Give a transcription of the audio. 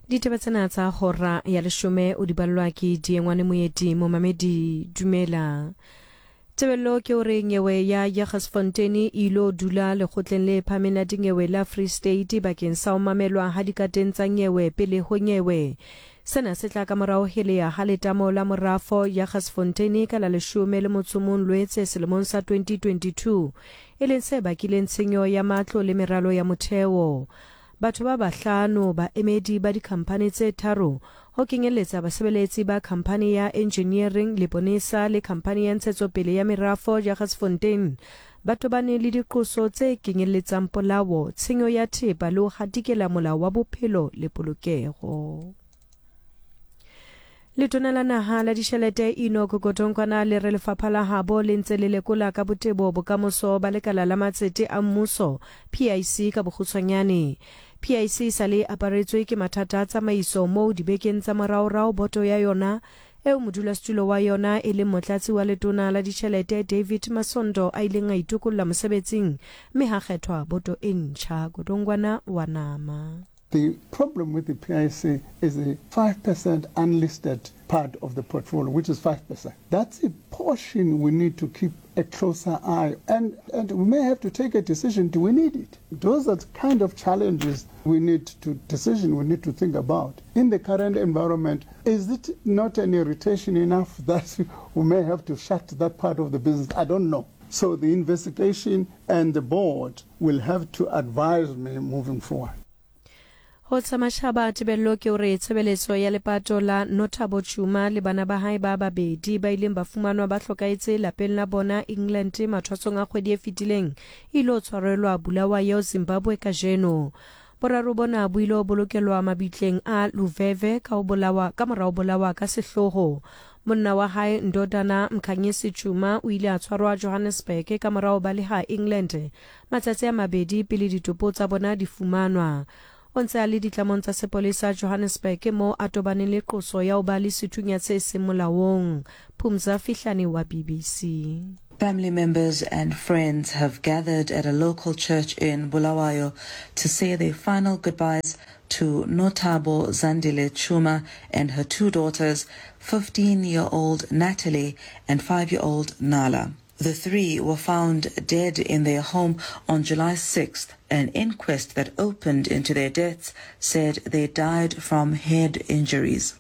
Ditaba tsena tsa hora ya leshome o di ballwa ke Diengwane Moeti. Momamedi, dumela. Tebello ke hore nyewe ya Jagersfontein e ilo dula lekgotleng le phahameng la dinyewe la Free State bakeng sa ho mamelwa ha dikateng tsa nyewe pele ho nyewe. Sena se tla ka morao helea ha letamo la morafo Jagersfontein ka la leshome le motso mong Lwetse selemong sa 2022, e leng se bakileng tshenyo ya matlo le meralo ya motheo. Batho ba bahlano, baemedi ba dikhamphani tse tharo, ho kenyelletsa basebeletsi ba khamphani ya engineering Leponesa le khamphani ya ntshetsopele ya merafo Jagersfontein, ba tobane le diqoso tse kenyelletsang polao, tshenyo ya thepa le ho hatikela molao wa bophelo le polokego. Letona la Naha la Ditjhelete Enoch Godongwana le re lefapha la habo le ntse le lekola ka botebo bokamoso ba lekala la matsete a mmuso, PIC ka bokgutshwanyane. PIC e sa le e aparetswe ke mathata a tsamaiso moo dibekeng tsa moraorao boto ya yona eo modulasetulo wa yona e leng motlatsi wa letona la ditjhelete David Masondo a ileng a itokolla mosebetsing mme ha kgethwa boto e ntjha. Godongwana wa nama. The problem with the PIC is the 5% unlisted part of the portfolio, which is 5%. That's a portion we need to keep a closer eye. And, and we may have to take a decision, do we need it? Those are the kind of challenges we need to decision we need to think about. In the current environment, is it not an irritation enough that we may have to shut that part of the business? I don't know. So the investigation and the board will have to advise me moving forward. Ho tsa mashaba, tebello ke hore tshebeletso ya lepato la Nothabo Tshuma le bana ba hae ba babedi ba ileng ba fumanwa ba hlokahetse lapeng la bona England mathwasong a kgwedi e fetileng e ilo tshwarelwa Bulawayo, Zimbabwe kajeno. Boraro bona bo ilo bolokelwa mabitleng a Luveve ka ho bolawa ka mora ho bolawa ka sehloho. Monna wa hae Ndodana Mkhanyisi Tshuma o ile a tshwarwa Johannesburg ka mora ho baleha England matsatsi a mabedi pele ditopo tsa bona di fumanwa. O ntse a le ditlamong tsa sepolesa Johannesburg moo a tobaneng le qoso ya ho ba le sethunya se seng molaong. Phumza Fihlane wa BBC. Family members and friends have gathered at a local church in Bulawayo to say their final goodbyes to Notabo Zandile Chuma and her two daughters, 15-year-old Natalie and 5-year-old Nala. The three were found dead in their home on July 6th. An inquest that opened into their deaths said they died from head injuries.